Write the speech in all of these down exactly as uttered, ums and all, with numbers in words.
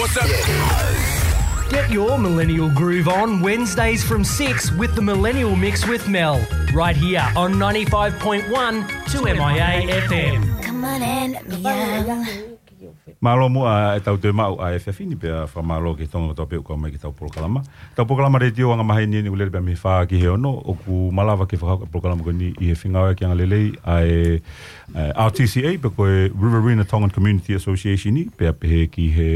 What's up? Get your millennial groove on Wednesdays from six with the Millennial Mix with Mel, right here on ninety-five point one two M I A F M. Come on in, Miguel. Mālō muʻa e tau toe maʻu ʻa e efiafi ni pea fakamālō ki he Tonga kotoa pē ʻoku kau mai ki heʻetau polokalama. Tau polokalama letiō anga maheni ni ʻoku lele pē mei he fā ki he ono, ʻoku malava ke fakahoko e polokalama ko eni ʻi he fengāueʻaki angalelei ʻa e, eh, R T C A, pe ko e Riverina Tongan Community Association ni, pea pehē ki he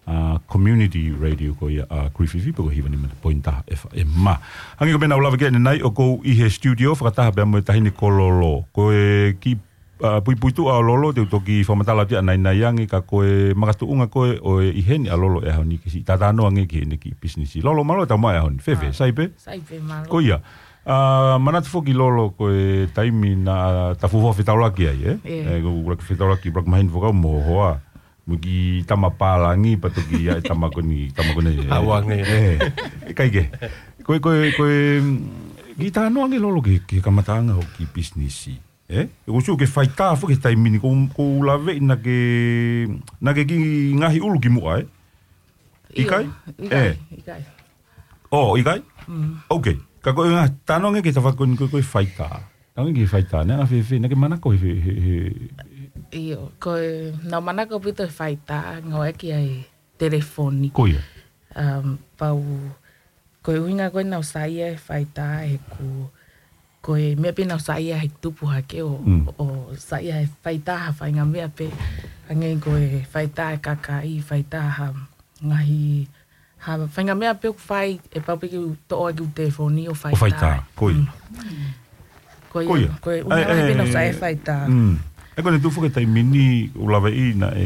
ʻa e community radio ko ia ʻa Griffith pe ko e hiva nima poini taha F M. Hangē ko e meʻa naʻa ku lave ki ai ʻanenai, ʻoku ou ʻi he studio fakataha pea mo e Taʻahine Kololo. Ko e kiʻi, ʻa, puipuituʻa ʻo Lolo, te u toki fakamatala atu ia ʻanenai ange, ka ko e makatuʻunga ko ē ʻo e ʻi heni ʻa Lolo he ʻaho ni ke siʻi talanoa ange ki heʻene kiʻi pisinisi. Lolo, mālō e tau mai he ʻaho ni. Fēfē, ʻa, sai pē? Sai pē, mālō. Ko ia. ʻA, manatu foki Lolo ko e taimi naʻa ta fuofua fetaulaki ai, ē? ʻIo. ʻE, ko e ʻuluaki fetaulaki, ʻuluaki maheni fakaʻau mo hoa. Mo e kiʻi tama pālangi, pea toki ʻi ai e tama ko eni, tama ko eni, ʻe. Hauange. ʻE, ʻikai ke. Ko e, ko e, ko e, mm, kiʻi talanoa ange Lolo ki he, ki he kamataʻanga hoʻo kiʻi pisinisi. ʻE? ʻOku ou sio ki he faitā foki he taimi ni, ʻoku ou, ʻoku ou laveʻi naʻa ke, naʻa ke kiʻi ngaohi ʻulu kimuʻa, ē? ʻIo, ʻikai? ʻIkai, ʻe. ʻIkai. ʻO, ʻikai? Mm. Ok. Ka ko e ngaahi talanoa ange ki he tafaʻaki ko eni ko e, ko e faitā. Talanoa ange ki he faitā. Naʻe anga fēfē, naʻa ke manako he, he, he, he. ʻIo, ko e, naʻa ku manako ʻaupito he faitā, ngāueʻaki ʻa e telefoni. Ko ia. Um, pea u, ko e ʻuhinga ko ē naʻa ku saiʻia he faitā, he ko, ko e meʻa pē naʻa ku saiʻia he tupu hake ʻo, Mm. ʻo saiʻia he faitā ha faʻahinga meʻa pē, hangē ko e faitā e kakai, faitā ha ngaahi, ha faʻahinga meʻa pē ʻoku fai, ʻe pau pē ke u toʻo ʻaki ʻeku telefoni ʻo faitā. ʻO faitā, ko ia. Mm. Ko ia, Ko ia. ko e ʻuhinga ʻAe, lahi pē naʻa ku ʻe, saiʻia he faitā. mm. ʻE ko eni tuʻu foki he taimi ni ʻoku ou laveʻi naʻe,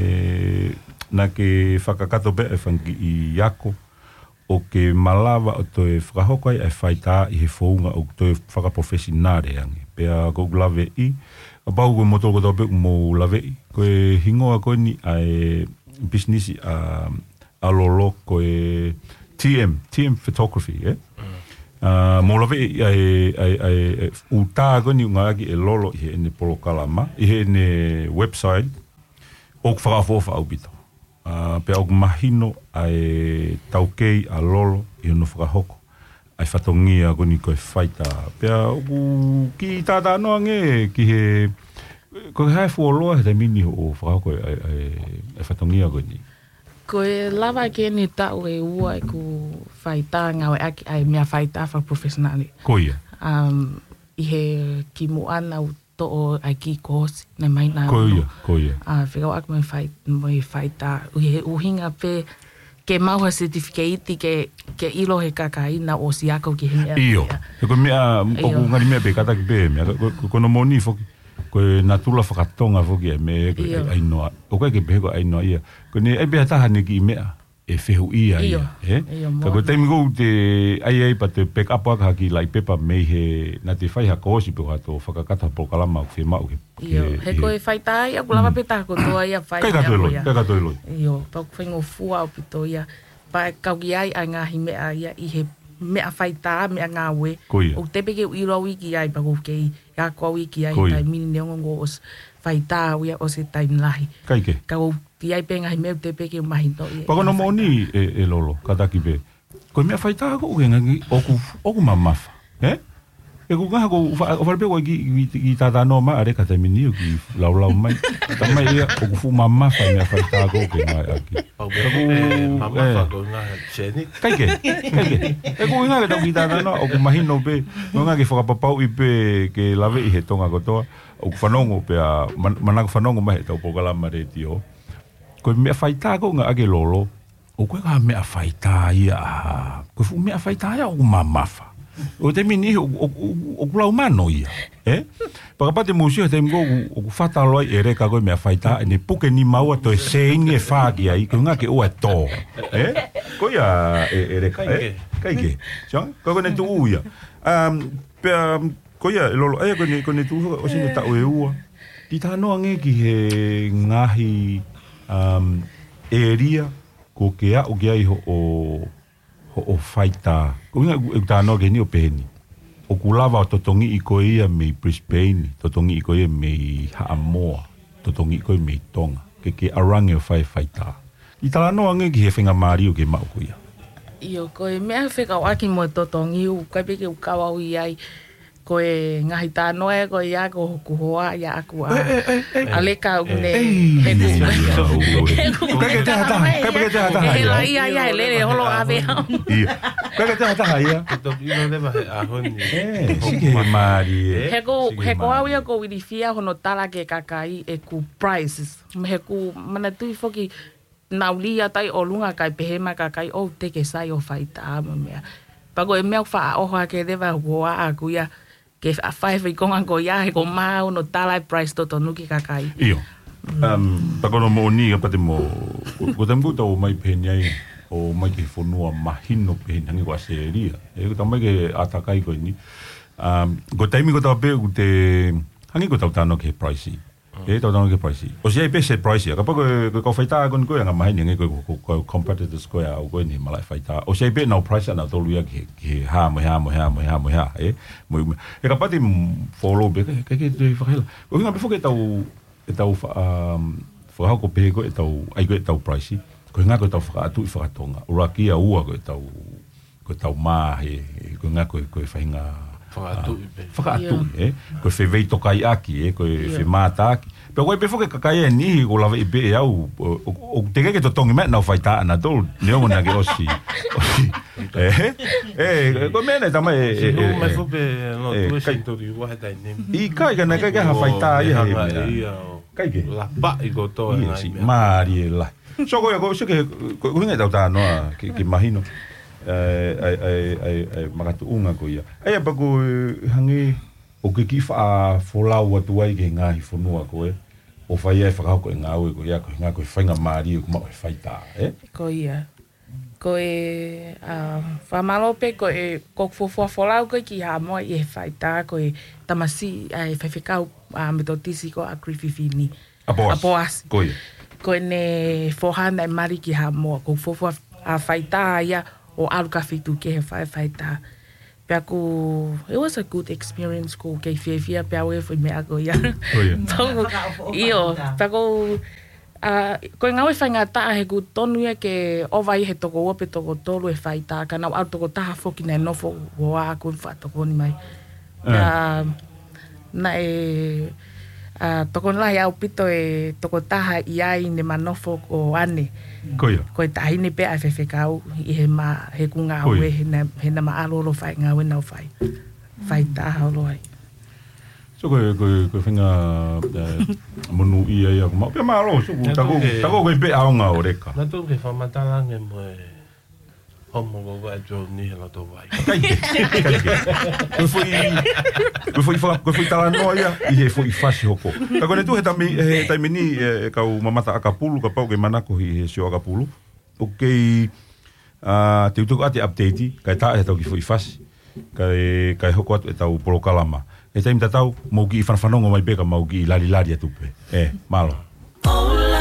naʻa ke fakakakato pē e fanga kiʻi ako ʻo ke malava ʻo toe fakahoko ai e faitā ʻi he founga ʻoku toe fakaprofesinale ange. Pea ʻoku ou laveʻi, kapau ko moutolu kotoa pē ʻoku mou laveʻi, ko e hingoa ko eni ʻa e pisinisi ʻa, ʻa Lolo ko e T M, T M Photography, ē? Mm. ʻA, mou laveʻi ʻa e, ʻa e, ʻa e, ʻa e ʻū tā ko eni ʻoku ngāueʻaki ʻe Lolo ʻi heʻene polokalama, ʻi heʻene website, ʻoku fakaʻofoʻofa ʻaupito. ʻA, pea ʻoku mahino ʻa e taukei ʻa Lolo ʻi hono fakahoko ʻa e fatongia ko eni ko e faitā. Pea ʻoku kiʻi talanoa ange ki he, ko e hā e fuoloa he taimi ni hoʻo fakahoko ʻa e, ʻa e, ʻa e fatongia ko eni? Ko e lava ki heʻene taʻu ʻe ua ʻeku faitā ngāueʻaki ʻa e meʻa faitā fakaprofesinale. Ko ia. Um, ʻi he kimuʻa naʻa ku toʻo ʻa e kiʻi kōsi, naʻe mahino. Ko ia, ko ia. ʻA, fekauʻaki mo e fai-, mo e faitā. ʻI he ʻuhinga pē ke maʻu ha certificate ke, ke ʻilo he kakai naʻa ku ʻosi ako ki he meʻa ʻIo. ia. He ko e meʻa, ʻIo. ʻoku ngali meʻa pē kātaki pē meʻa. Ko, ko, ko hono moʻoni foki. Ko e natula fakatonga foki e meʻa ko e ʻIo. ʻai, ʻai noa. ʻOku ʻikai ke pehē ko e ʻai noa ia. Ko ʻene ʻai pē ha taha ʻene kiʻi meʻa ʻe fehuʻia ia, ʻIo. ē? ʻIo, Ka ko e moʻoni. taimi ʻoku te ʻai ai pea te pick up ʻaki ha kiʻi laʻi pepa mei he naʻa te fai ha kōsi pe ko ha toe fakakakato ha polokalama ʻoku fiemaʻu ke, ʻIo, ke, he ke ko e faitā ia, ʻoku lava Mm. pē taha kotoa ia fai ʻIkai ka toe ako loi, ia. ʻikai ka toe loi. ʻIo, pea ʻoku faingofua ʻaupito ia. Pea kau ki ai ʻa e ngaahi meʻa ia ʻi he meʻa faitā, meʻa ngāue. Ko ia. ʻOku teʻeki pē ke u ʻilo au ia ki ai, pea ʻoku kei ako au ia ki ai Ko ia. taimi ni neongo ʻoku ʻosi faitā au ia ʻosi taimi lahi. ʻIkai ke. Ka ʻoku ʻi ai pē ngaahi meʻa ʻoku teʻeki pē ke u mahinoʻi. Pea ko hono moʻoni ʻe, ʻe Lolo, kātaki pē. Ko e meʻa faitā ko ē ʻoku ke ngaahi ʻoku, ʻoku mamafa. Ē? ʻE ko e ngaahi ko fa-, ʻo fale pē ko e kiʻi, kiʻi, kiʻi talanoa mai ʻa Leka he taimi ni ʻoku kiʻi laulau mai. Talamai ia ʻoku fuʻu mamafa e meʻa faitā ko ē ʻoku ke ngāueʻaki. ʻOku Ka ko, ʻe mamafa ʻe. ko e ngaahi seni. ʻIkai ke, ʻikai ke. ʻE ko e ngaahi ke tau kiʻi talanoa, ʻoku mahino pē, ko e ngaahi ke fakapapauʻi pē ke laveʻi he Tonga kotoa, ʻoku fanongo pea, man-, manako fanongo mai heʻetau polokalama letiō. Ko e meʻa faitā ko ē ʻoku ngāueʻaki ʻe Lolo, ʻoku ʻikai ko ha meʻa faitā ia, ʻa, ko e fuʻu meʻa faitā ia ʻoku mamafa. ʻO e taimi ni ʻoku, ʻoku, ʻoku, ʻoku lau mano ia, ē? Pea kapau te mou sio he taimi ko ē ʻoku, ʻoku fata loa ai ʻe Leka ko e meʻa faitā, ʻene puke nima ua toe sēini ʻe fā ki ai, ko e ʻuhinga ke ʻoua ʻe tō. Ē? Ko ia ʻe, ʻe Leka, ʻIkai ē? ke. ʻIkai ke. Sio, ko ʻene tuʻu ia. Um, pea, um, ko ia, ʻe Lolo, ʻa ia ko ʻene, ko ʻene tuʻu, ʻosi ʻene taʻu ʻe ua. Kiʻi talanoa ange ki he ngaahi, um, ʻēlia, ʻoku ke aʻu ki ai hoʻo, hoʻo faitā. Ko e ʻuhinga ʻeku, ʻeku talanoa ki heni ʻo pehē ni. ʻOku lava ʻo totongiʻi koe ia mei Brisbane, totongiʻi koe ia mei Haʻamoa, totongiʻi koe mei Tonga. Ke, ke ʻalu ange ʻo fai e faitā. ʻI talanoa ange ki he faingamālie ʻoku ke maʻu ko ia. ʻIo, ko e meʻa fekauʻaki mo e totongi ʻoku ʻikai pē ke u kau au ʻi ai. Ko e ngaahi talanoa ē ko ia ko hoku hoa ia ʻaku ʻa. ʻE, ʻe, ʻe, ʻe. ʻAleka ʻoku ne. ʻE, he ʻe, ku-, ʻe, he ku-, ʻe, ʻe. Kae ke te hata, kae ke te hata He ia. la ia ia he lele holo ʻave au. ʻIo. Kae ke te hata ia. Ke toki ʻilo leva he ʻaho ni. ʻE, sike he mālie. He ko, Sike he ko au mālie. ia ko Wilifia hono tala ke kakai ʻeku prices. He ʻoku manatuʻi foki naʻa ku lī atu ai ʻolunga kae pehē mai kakai ʻoku te ke sai ʻo faitā mo e meʻa. Pea ko e meʻa ʻoku faʻa ʻoho ake leva ʻoku ʻaku ia ke faʻa fai fai konga ko ia he ko mau no tala e price totonu ki kakai. ʻIo. Um, pea ko hono moʻoni ia pea te mo, ko, ko e taimi ko ē ʻoku tau ō mai pehē ni ai, ʻo mai ki he fonua mahino pehē ni hangē ko ʻAositelēlia. ʻE, ʻoku tau mai ki he ʻātakai ko eni. Um, ko e taimi ko ē ʻoku tau pehē ʻoku te, hangē ko ʻetau talanoa ki he price. ʻE, tau talanoa ki he price. ʻOsi ʻi ai pē se price ia. Kapau ko e, ko e kau faitā ko eni ko e anga maheni, hangē ko e, ko e, ko e competitors ko ē ʻa au ko eni he malaʻe faitā. ʻOsi ʻi ai pē ʻenau price ʻanautolu ia ki he, ki he hā, mo e hā, mo e hā, mo e hā, mo e hā, ē. Mo, mo, ʻe kapau te follow pē, kae, kae ke te fakahela. ʻUhinga pē foki ʻetau, ʻetau fa-, um, fakahoko pē ko ē ʻetau, ʻai ko ē ʻetau price. Ko e ʻuhinga ko ʻetau fakaʻatuʻi fakatonga. ʻUluaki ia, ua ko ʻetau ko ʻetau mā he, he, ko e ʻuhinga ko e, ko e faʻahinga, Fakaʻatuʻi ah, pē. fakaʻatuʻi, Ia. ē? Ko e feveitokaiʻaki, ē? Ko e Ia. femātaaki. Pea ko e pē foki kakai ʻe niʻihi ʻoku lava ʻi pē ʻe au, ʻo, ʻo, ʻoku teʻeki ke totongi mai ʻenau faitā ʻanautolu, neongo naʻa ke ʻosi. ʻOsi. Ē? Ē, ko e meʻa naʻe tama ʻe, ʻe, Siʻi ʻe, mai ʻe. foki pē, no, ʻE, tuʻu e kai. senitoli ua he taimi ni. ʻIkai, ka naʻe ʻikai ke ha faitā ia he Hanga meʻa. ia ʻo Kai ke. lapaʻi kotoa Ia, ngaahi si, meʻa. mālie lahi. So, ko ia, ko, so, ke, ko, ko e ʻuhinga ʻetau talanoa, ke, ke mahino. ʻE, ʻai, ʻai, ʻai, ʻai, makatuʻunga ko ia. ʻAi, ʻa pea ko e hangē, ʻoku ke kiʻi faʻa folau atu ai ki he ngaahi fonua ko ē, ʻo fai ai fakahoko e ngāue ko ia, ko e ʻuhinga ko e faingamālie ʻoku maʻu he faitā, ē? Ko ia. Ko e, ʻa, fakamālō pē ko e, ko e fuofua folau ko ē ki Haʻamoa ʻi he faitā ko e tamasiʻi ʻa e faifekau, ʻa, Metotisi ko ʻAkilififini. ʻApoasi. ʻApoasi. Ko ia. Ko ʻene foha naʻe mali ki Haʻamoa, ko e fuofua, ʻa, faitā ia ʻo ʻalu ki ha feituʻu kehe ʻo fai e faitā. Pea ko, it was a good experience, ʻoku ou kei fiefia pē au he foʻi meʻa ko ia. Ko ia. Tau, Fakaʻofoʻofa ʻio, ʻi tā. pea ko, ʻa, ko e ngāue faingataʻa he ʻoku tonu ia ke ʻova ʻi he toko ua pe toko tolu e faitā, ka naʻa ku ʻalu toko taha foki naʻe nofo ʻo ʻā ʻoku faʻa tokoni mai. ʻE. Pea, naʻe, ʻa, tokoni lahi ʻaupito e tokotaha ʻi ai ne ma nofo ko ʻAne. Ko ia. Ko e taʻahine pē ʻa e faifekau ʻi he ma, he ʻoku ngāue Ko ia. he na, he naʻa ma ʻalu holo fai ngāue naʻa ku fai. Faitā holo ai. So ko e, ko e, ko e faʻahinga, ʻe, monūʻia ia ʻoku maʻu. Pea mālō, so ko Naʻa taku, tau ke, taku ko e pē ʻaonga ʻo Leka. Naʻa tau ke fakamatala ange mo e Homo ko ua e Joni he loto vai. Kai ke, kai ke. Ko e foʻi, ko e foʻi fa-, ko e foʻi talanoa ia, ʻi he foʻi fasi hoko. Ka ko ʻene tuʻu he taimi, he taimi ni, ʻe, kau mamata ʻakapulu, kapau ʻoku ke manako ʻi he sio ʻakapulu. ʻOku kei, ʻa, te u tuku atu e update, kae tā ʻe tau kiʻi foʻi fasi. Kae, kae hoko atu ʻetau polokalama. He taimi tatau, mou kiʻi fanafanongo mai pē ka mau kiʻi lali lali atu pē. ʻE, mālō.